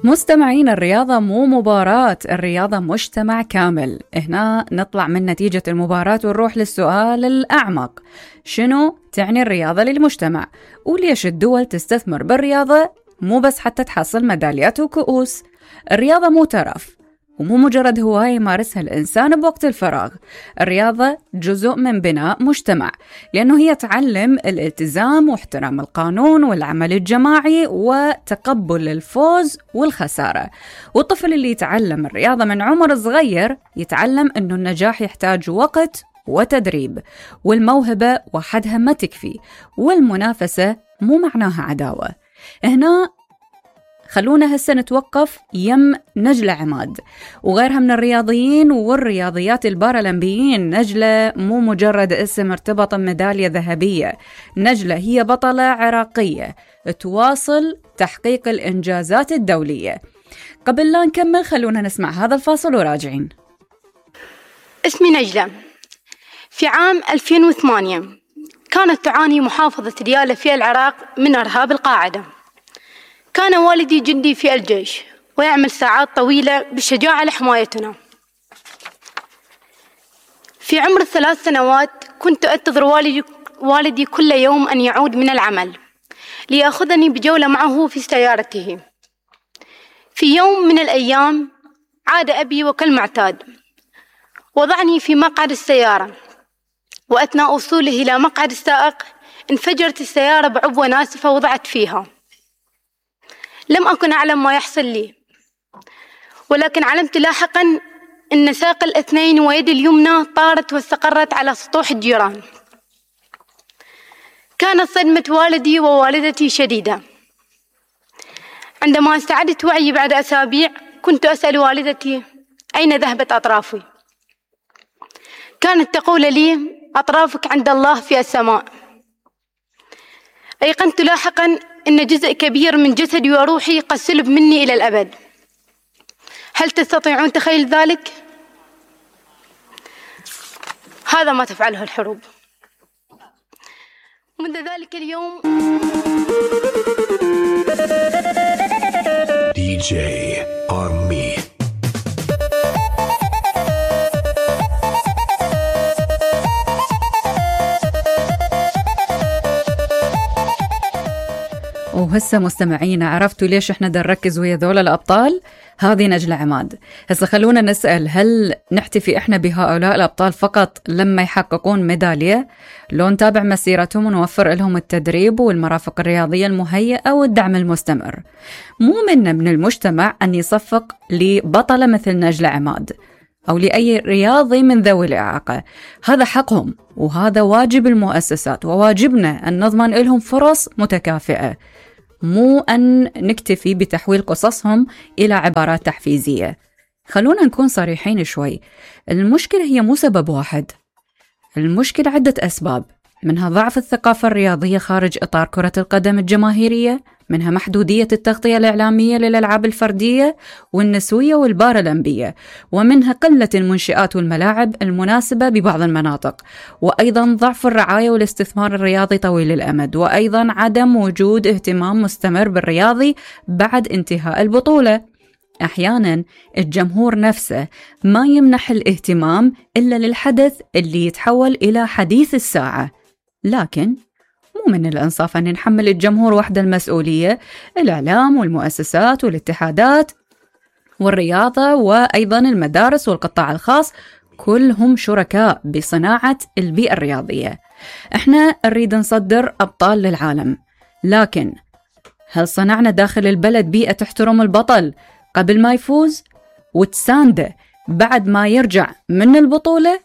مستمعين، الرياضة مو مباراة، الرياضة مجتمع كامل. هنا نطلع من نتيجة المباراة ونروح للسؤال الأعمق: شنو تعني الرياضة للمجتمع؟ وليش الدول تستثمر بالرياضة مو بس حتى تحصل ميداليات وكؤوس؟ الرياضة مو ترف ومو مجرد هواية يمارسها الإنسان بوقت الفراغ. الرياضة جزء من بناء مجتمع، لأنه هي تعلم الالتزام واحترام القانون والعمل الجماعي وتقبل الفوز والخسارة. والطفل اللي يتعلم الرياضة من عمر صغير يتعلم أنه النجاح يحتاج وقت وتدريب، والموهبة وحدها ما تكفي، والمنافسة مو معناها عداوة. هنا خلونا هسه نتوقف يم نجلة عماد وغيرها من الرياضيين والرياضيات البارالمبيين. نجلة مو مجرد اسم ارتبط بميدالية ذهبية، نجلة هي بطلة عراقية تواصل تحقيق الإنجازات الدولية. قبل لا نكمل خلونا نسمع هذا الفاصل وراجعين. اسمي نجلة. في عام 2008 كانت تعاني محافظة ديالى في العراق من إرهاب القاعدة. كان والدي جندي في الجيش ويعمل ساعات طويلة بالشجاعة لحمايتنا. في عمر 3 سنوات كنت أنتظر والدي كل يوم أن يعود من العمل ليأخذني بجولة معه في سيارته. في يوم من الأيام عاد أبي وكالمعتاد وضعني في مقعد السيارة، وأثناء وصوله إلى مقعد السائق انفجرت السيارة بعبوة ناسفة وضعت فيها. لم أكن أعلم ما يحصل لي، ولكن علمت لاحقا أن ساق الاثنين ويد اليمنى طارت واستقرت على سطوح الجيران. كانت صدمة والدي ووالدتي شديدة. عندما استعدت وعي بعد أسابيع كنت أسأل والدتي أين ذهبت أطرافي؟ كانت تقول لي: أطرافك عند الله في السماء. أيقنت لاحقا أن جزء كبير من جسدي وروحي قد سلب مني إلى الأبد. هل تستطيعون تخيل ذلك؟ هذا ما تفعله الحروب. منذ ذلك اليوم DJ Army. وهسه مستمعين، عرفتوا ليش احنا نركز ويا ذول الأبطال؟ هذه نجلة عماد. هسه خلونا نسأل: هل نحتفي احنا بهؤلاء الأبطال فقط لما يحققون ميدالية؟ لو نتابع مسيرتهم ونوفر لهم التدريب والمرافق الرياضية المهيئة والدعم المستمر. مو منا من المجتمع أن يصفق لبطلة مثل نجلة عماد أو لأي رياضي من ذوي الإعاقة. هذا حقهم وهذا واجب المؤسسات، وواجبنا أن نضمن لهم فرص متكافئة، مو أن نكتفي بتحويل قصصهم إلى عبارات تحفيزية. خلونا نكون صريحين شوي، المشكلة هي مو سبب واحد، المشكلة عدة أسباب، منها ضعف الثقافة الرياضية خارج إطار كرة القدم الجماهيرية، منها محدودية التغطية الإعلامية للألعاب الفردية والنسوية والبارالمبية، ومنها قلة المنشآت والملاعب المناسبة ببعض المناطق، وأيضا ضعف الرعاية والاستثمار الرياضي طويل الأمد، وأيضا عدم وجود اهتمام مستمر بالرياضي بعد انتهاء البطولة. أحيانا الجمهور نفسه ما يمنح الاهتمام إلا للحدث اللي يتحول إلى حديث الساعة. لكن مو من الإنصاف أن نحمل الجمهور وحده المسؤولية. الإعلام والمؤسسات والاتحادات والرياضة وأيضا المدارس والقطاع الخاص كلهم شركاء بصناعة البيئة الرياضية. احنا نريد نصدر أبطال للعالم، لكن هل صنعنا داخل البلد بيئة تحترم البطل قبل ما يفوز وتسانده بعد ما يرجع من البطولة؟